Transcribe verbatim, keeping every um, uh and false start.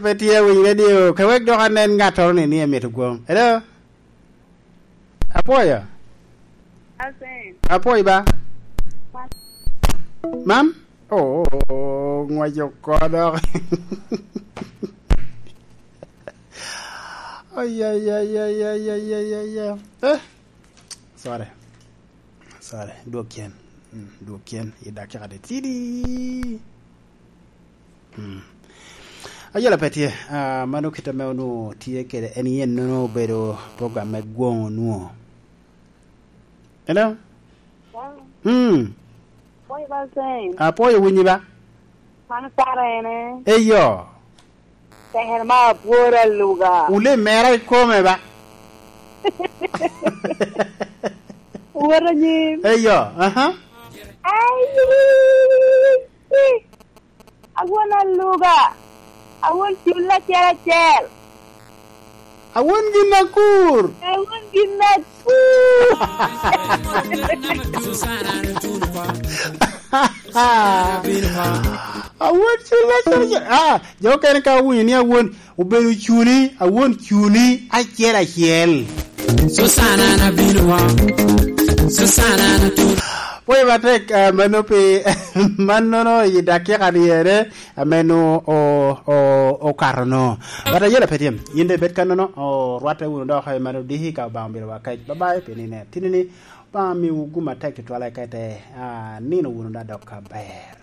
Pe tye awiny radio, ka wek dok anen ngattoro ni, ni emito gwom. Hello? Apwoyo? Asen. Apwoyo ba? Mam? Oh, ngwaco oko dok. Ay, ay, ay, ay, ay, ay, ay, ay, ay. Eh, sorry. Sorry, dwok cen. Mm, dwok cen i dakika titidi. Mm. Ayela pe tye. Ah, mano kit ame onwo tye kede. En yen nono obedo program me gwoŋo onwo. Hello? Wow. Mm. Boy, ba sen. Apwoyo winyi ba? Mano kare ene. Eyo. Tekere ma abwor aluga. Wule mera ikome ba? Wot anyim. Eyo, aha. Ai, awon aluga. Awon cul acel acel. Awon gin akur. Awon gin akur. Awon cul acel acel. Ah, jo okene ka owinyo ni awon obedo cuni, awon cuni acel acel. Susana na bino wa. Susana na tu. Pwoyo matek, ah, mano pi, mannono i dakika dyere, ame no o, o, okato no. But ayela pe tye. Yin de bed kannono, o, rwatte wunu dok i mano diki ka Obaŋa obedo wa kec. Bye bye, pi nine. Tinini, Obaŋa miwu gum atek tutwal eka ite, ah, nino wunu da dok aber.